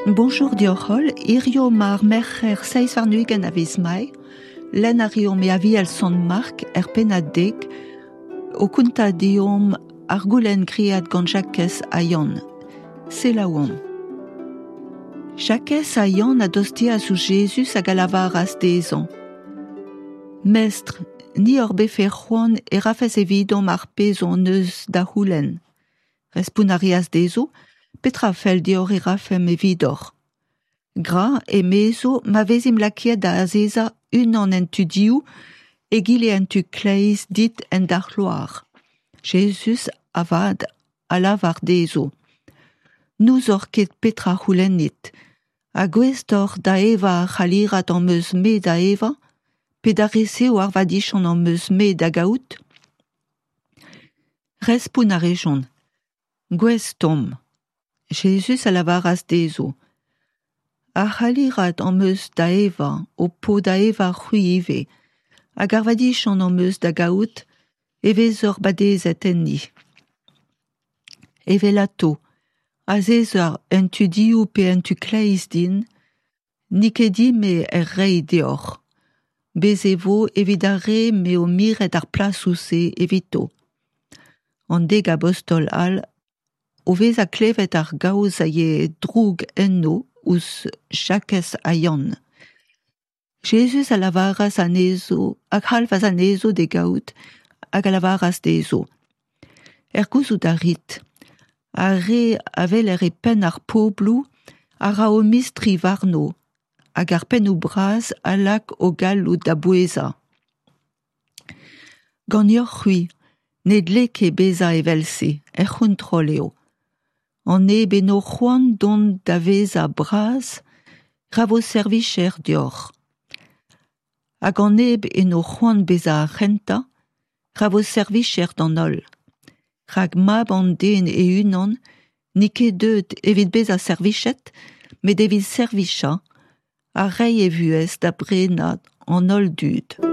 Bonjour deoc'h holl, hirio 'ma ar Merc'her 27 a viz Mae, lenn a reomp e Aviel Sant Mark er pennad dek, o kontañ deomp ar goulenn graet gant Jakez ha Yann. Selaouomp. Jakez ha Yann a dosteas ouzh Jezuz hag a lavaras dezhañ: Mestr, ni hor befe c'hoant e rafes evidomp ar pezh hon eus da c'houlenn. Respont a reas dezho, Petra a fell deoc'h e rafemp evidoc'h? Gra, emezo, ma vezimp lakaet da azezañ unan en tu dehou, egile en tu kleiz dit en da c'hloar. Jezuz avat a lavar dezho, N'ouzoc'h ket petra c'houlennit. Ha gouest oc'h da evañ ar c'halirad am eus-me da evañ, pe da resev ar vadiziant am eus-me da gaout? Respont a rejont, Gouest omp. Jezuz a lavaras dezho, Ar c'halirad am eus da evañ ho po da evañ c'hwi ivez, hag ar vadiziant am eus da gaout e vezoc'h badezet enni. Evelato, azezañ en tu dehou pe en tu kleiz din, n'eo ket din-me er reiñ deoc'h. Bez' e vo evit ar re m'eo miret ar plasoù-se evito. An dek abostol all o vezañ klevet ar gaoz a yae droug enno ouzh Jakez ha Yann. Jezuz a lavaras anezho a c'halvas anezho d'e gaout hag a lavaras dezho: Er gouzout a rit, ar re a weler e penn ar pobloù a ra o mistri warno hag ar pennoù bras a lak o galloud da bouezañ. Ganeoc'h-c'hwi ne dle ket bezañ evel-se, er c'hontrol eo. An neb eno c'hoant dont da vezañ bras, ra vo servijer deoc'h. Hag an neb eno c'hoant bezañ ar c'hentañ, ra vo servijer d'an holl. Rak mab an den e-unan n'eo ket deuet evit bezañ servijet, met evit servijañ ha reiñ e vuhez da brenañ an holl dud.